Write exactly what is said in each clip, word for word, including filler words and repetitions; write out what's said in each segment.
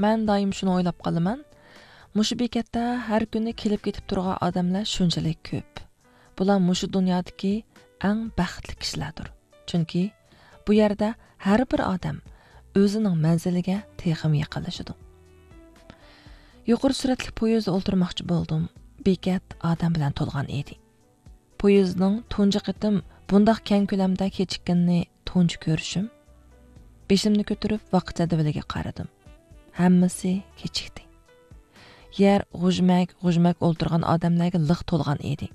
مەن دائىم شۇنى ئويلاپ قالىمەن، مۇشۇ بېكەتتە ھەر كۈنى كېلىپ كېتىپ تۇرغان ئادەملەر شۇنچىلىك كۆپ. بۇلار مۇشۇ دۇنيادىكى ئەڭ بەختلىك كىشىلەردۇر. چۈنكى بۇ يەردە ھەر بىر ئادەم ئۆزىنىڭ مەنزىلىگە تېخىمۇ يېقىنلىشىدۇ. يۇقىرى سۈرئەتلىك پويىزدا ئولتۇرماقچى بولدۇم. بېكەت ئادەم بىلەن تولغان ئىدى. پويىزنىڭ تۇنجى قېتىم بۇنداق كەڭ كۆلەمدە كېچىككىنىنى تۇنجى كۆرۈشۈم. بېشىمنى كۆتۈرۈپ ۋاقىت جەدۋىلىگە قارىدىم. ھەممىسى كېچىكتى. يەر غۇژمەك، غۇژمەك ئولتۇرغان ئادەملەرگە لىق تولغان ئىدى.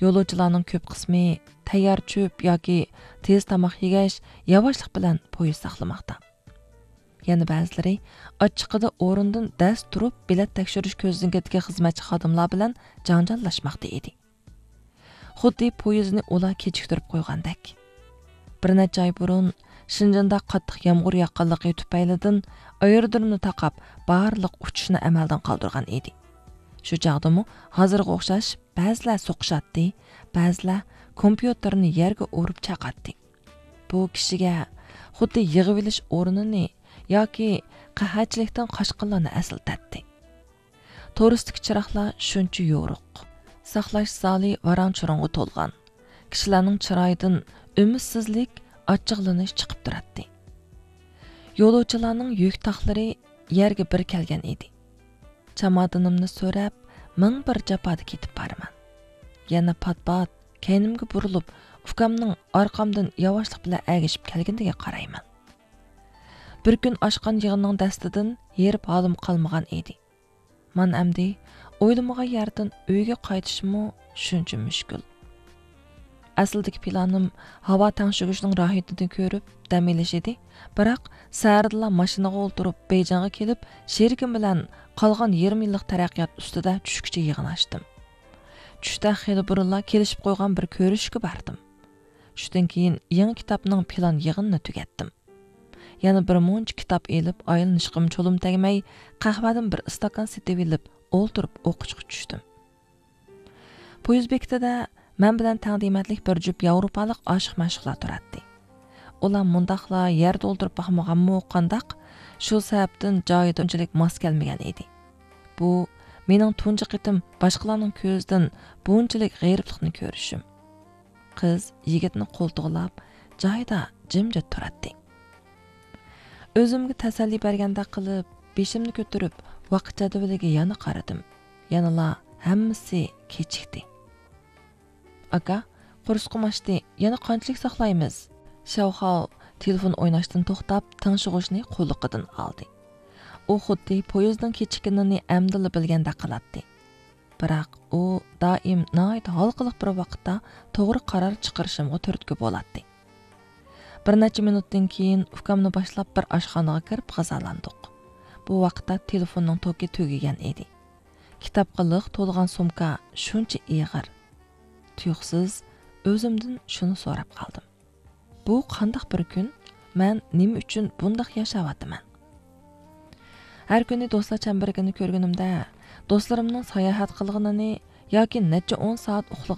يولۇچىلارنىڭ كۆپ قىسمى تەييار چۆپ ياكى تېز تاماق يېگەچ، ياۋاشلىق بىلەن پويىز ساقلىماقتا. يەنە بەزىلىرى ئاچچىقىدا ئورنىدىن دەس تۇرۇپ، بېلەت تەكشۈرۈش كۆزنىكىدىكى خىزمەتچى خادىملار بىلەن جاڭجاللاشماقتا ئىدى. خۇددى پويىزنى ئۇلار كېچىكتۈرۈپ قويغاندەك. بىر نەچچە ئاي بۇرۇن شىنجېندا قاتتىق يامغۇر ياغقانلىقى تۈپەيلىدىن ئايرودرومنى تاقاپ، بارلىق ئۇچۇشنى ئەمەلدىن قالدۇرغان ئىدى. شۇ چاغدىمۇ ھازىرغا ئوخشاش بەزىلەر سوقۇشاتتى، بەزىلەر كومپيۇتېرنى يەرگە ئۇرۇپ چاقاتتى. بۇ كىشىگە خۇددى يىغىۋېلىش ئورنىنى ياكى قەھەتچىلىكتىن قاچقانلارنى ئەسلىتەتتى. تورۇستىكى چىراغلار شۇنچە يورۇق. ساقلاش زالى ۋاراڭ-چۇرۇڭغا تولغان. كىشىلەرنىڭ چىرايىدىن ئۈمىدسىزلىك، ئاچچىقلىنىش چىقىپ تۇراتتى. يولۇچىلارنىڭ يۈك تاقلىرى يەرگە بىر كەلگەن ئىدى. چامادىنىمنى سۆرەپ، مىڭ بىر جاپادا كېتىپ بارىمەن. يەنە پات-پات كەينىمگە بۇرۇلۇپ، ئۇكامنىڭ ئارقامدىن ياۋاشلىق بىلەن ئەگىشىپ كەلگىنىگە قارايمەن. بىر كۈن ئاچقان يىغىننىڭ دەستىدىن ھېرىپ ھالىم قالمىغان ئىدى. مانا ئەمدى ئويلىمىغان يەردىن ئۆيگە قايتىشمۇ شۇنچە مۈشكۈل. ئەسلىدىكى پىلانىم ھاۋا تەڭشىگۈچنىڭ راھىتىنى كۆرۈپ دەم ئېلىش ئىدى، بىراق سەھەردىلا ماشىنىغا ئولتۇرۇپ بېيجىڭغا كېلىپ، شېرىكىم بىلەن قالغان يېرىم يىللىق تەرەققىيات ئۈستىدە چۈشكىچە يىغىن ئاچتىم. چۈشتە خېلى بۇرۇنلا كېلىشىپ قويغان بىر كۆرۈشۈشكە باردىم. چۈشتىن كېيىن يېڭى كىتابنىڭ پىلان يىغىنىنى تۈگەتتىم. يەنە بىر مۇنچە كىتاب ئېلىپ، ئايلىنىشقىمۇ چولۇم تەگمەي، قەھۋەدىن بىر ئىستاكان سېتىۋېلىپ، ئولتۇرۇپ ئوقۇشقا چۈشتۈم. پويىز بېكىتىدە مەن بىلەن تەڭ دېمەتلىك بىر جۈپ ياۋروپالىق ئاشىق-مەشۇقلار تۇراتتى. ئۇلار مۇنداقلا يەردە ئولتۇرۇپ باقمىغانمۇ قانداق، شۇ سەۋەبتىن جايىدا ئۇنچىلىك ماس كەلمىگەن ئىدى. بۇ مېنىڭ تۇنجى قېتىم باشقىلارنىڭ كۆزىدىن بۇنچىلىك غېرىبلىقنى كۆرۈشۈم. قىز يىگىتنى قولتۇقلاپ، جايىدا جىمجىت تۇراتتى. ئۆزۈمگە تەسەللى بەرگەندەك قىلىپ، بېشىمنى كۆتۈرۈپ، ۋاقىت جەدۋىلىگە يەنە قارىدىم. يەنىلا ھەممىسى كېچىكتى. «ئاكا، قورسىقىم ئاچتى، يەنە قانچىلىك ساقلايمىز؟» شاۋخاۋ تېلېفون ئويناشتىن توختاپ، تىڭشىغۇچنى قۇلىقىدىن ئالدى. ئۇ خۇددى پويىزنىڭ كېچىككىنىنى ئەمدىلا بىلگەندەك قىلاتتى. بىراق ئۇ دائىم ناھايىتى ھالقىلىق بىر ۋاقىتتا توغرا قارار چىقىرىشىمغا تۈرتكە بولاتتى. بىر نەچچە مىنۇتتىن كېيىن ئۇكامنى باشلاپ بىر ئاشخانىغا كىرىپ غىزالاندۇق. بۇ ۋاقىتتا تېلېفوننىڭ توكى تۈگىگەن ئىدى. كىتابقا لىق تولغان سومكا شۇنچە ئېغىر. تۇيۇقسىز ئۆزۈمدىن شۇنى سوراپ قالدىم. بۇ قانداق بىر كۈن؟ مەن نېمە ئۈچۈن بۇنداق ياشاۋاتىمەن؟ ھەر كۈنى دوستلار چەمبىرىكىنى كۆرگىنىمدە، دوستلىرىمنىڭ ساياھەت قىلغىنىنى ياكى نەچچە ئون سائەت ئۇخلىغىنىنى